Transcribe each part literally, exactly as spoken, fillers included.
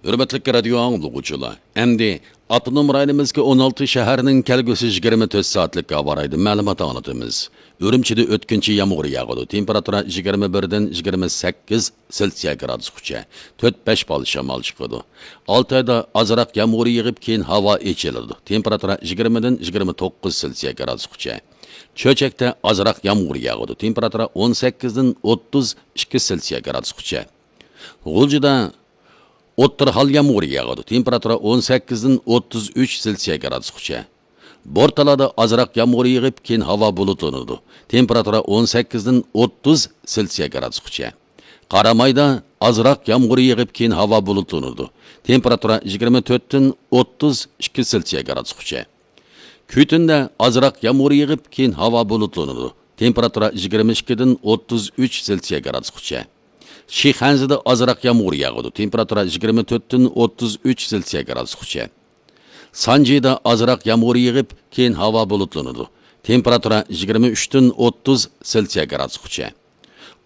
ھۆرمەتلىك رادىيو ئاڭلىغۇچىلار، ئەمدى ئاپتونوم رايونىمىزدىكى ئون ئالتە شەھەرنىڭ كەلگۈسى يىگىرمە تۆت سائەتلىك ھاۋا رايىدىن مەلۇمات ئاڭلىتىمىز. ئۈرۈمچىدە ئۆتكۈنچى يامغۇر ياغىدۇ. تېمپېراتۇرا يىگىرمە بىردىن يىگىرمە سەككىز سېلسىيە گرادۇسقىچە. تۆت بەش بال شامال چىقىدۇ. ئالتايدا ئازراق يامغۇر يېغىپ، كېيىن ھاۋا ئېچىلىدۇ. تېمپېراتۇرا يىگىرمىدىن يىگىرمە توققۇز سېلسىيە گرادۇسقىچە. چۆچەكتە ئازراق يامغۇر ياغىدۇ. تېمپېراتۇرا ئون سەككىزدىن ئوتتۇز ئىككى سېلسىيە گرادۇسقىچە. غۇلجىدا ئوتتۇرا ھال يامغۇر ياغىدۇ. تېمپېراتۇرا ئون سەككىزدىن ئوتتۇز ئۈچ سېلسىيە گرادۇسقىچە. بورتالادا ئازراق يامغۇر يېغىپ، كېيىن ھاۋا بۇلۇتلىنىدۇ. تېمپېراتۇرا ئون سەككىزدىن ئوتتۇز سېلسىيە گرادۇسقىچە. قارامايدا ئازراق يامغۇر يېغىپ، كېيىن ھاۋا بۇلۇتلىنىدۇ. تېمپېراتۇرا يىگىرمە تۆتتىن ئوتتۇز ئىككى سېلسىيە گرادۇسقىچە. كۈتۈندە ئازراق يامغۇر يېغىپ، كېيىن ھاۋا بۇلۇتلىنىدۇ. تېمپېراتۇرا يىگىرمە ئىككىدىن ئوتتۇز ئۈچ سېلسىيە گرادۇسقىچە. شىخەنزىدە ئازراق يامغۇر ياغىدۇ. تېمپېراتۇرا يىگىرمە تۆتتىن ئوتتۇز ئۈچ سېلسىيە گرادۇسقىچە. سانجىدا ئازراق يامغۇر يېغىپ، كېيىن ھاۋا بۇلۇتلىنىدۇ. تېمپېراتۇرا يىگىرمە ئۈچتىن ئوتتۇز سېلسىيە گرادۇسقىچە.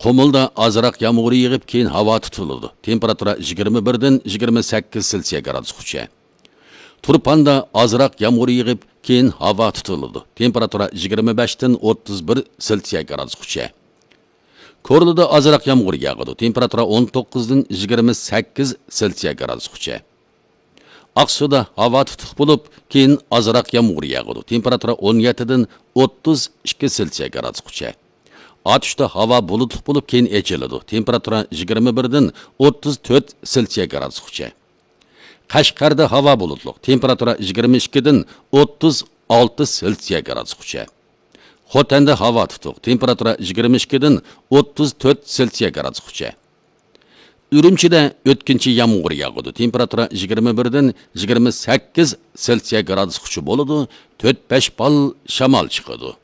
قۇمۇلدا ئازراق يامغۇر يېغىپ، كېيىن ھاۋا تۇتۇلىدۇ. تېمپېراتۇرا يىگىرمە بىردىن يىگىرمە سەككىز سېلسىيە گرادۇسقىچە. تۇرپاندا ئازراق يامغۇر يېغىپ، كېيىن ھاۋا تۇتۇلىدۇ. تېمپېراتۇرا يىگىرمە بەشتىن ئوتتۇز بىر سېلسىيە گرادۇسقىچە. كورلىدا ئازراق يامغۇر ياغىدۇ. تېمپېراتۇرا ئون توققۇزدىن يىگىرمە سەككىز سېلسىيە گرادۇسقىچە. ئاقسۇدا ھاۋا تۇتۇق بولۇپ، كېيىن ئازراق يامغۇر ياغىدۇ. تېمپېراتۇرا ئون يەتتىدىن ئوتتۇز ئىككى سېلسىيە گرادۇسقىچە. ئاتۇشتا ھاۋا بۇلۇتلۇق بولۇپ، كېيىن ئېچىلىدۇ. تېمپېراتۇرا يىگىرمە بىردىن ئوتتۇز تۆت سېلسىيە گرادۇسقىچە. قەشقەردە ھاۋا بۇلۇتلۇق. تېمپېراتۇرا يىگىرمە ئىككىدىن ئوتتۇز ئالتە سېلسىيە گرادۇسقىچە. خوتەندە ھاۋا تۇتۇق. تېمپېراتۇرا يىگىرمە ئىككىدىن ئوتتۇز تۆت سېلسىيە گرادۇسقىچە. ئۈرۈمچىدە ئۆتكۈنچى يامغۇر ياغىدۇ. تېمپېراتۇرا يىگىرمە بىردىن يىگىرمە سەككىز سېلسىيە گرادۇسقىچە بولىدۇ. تۆت بەش بال شامال چىقىدۇ.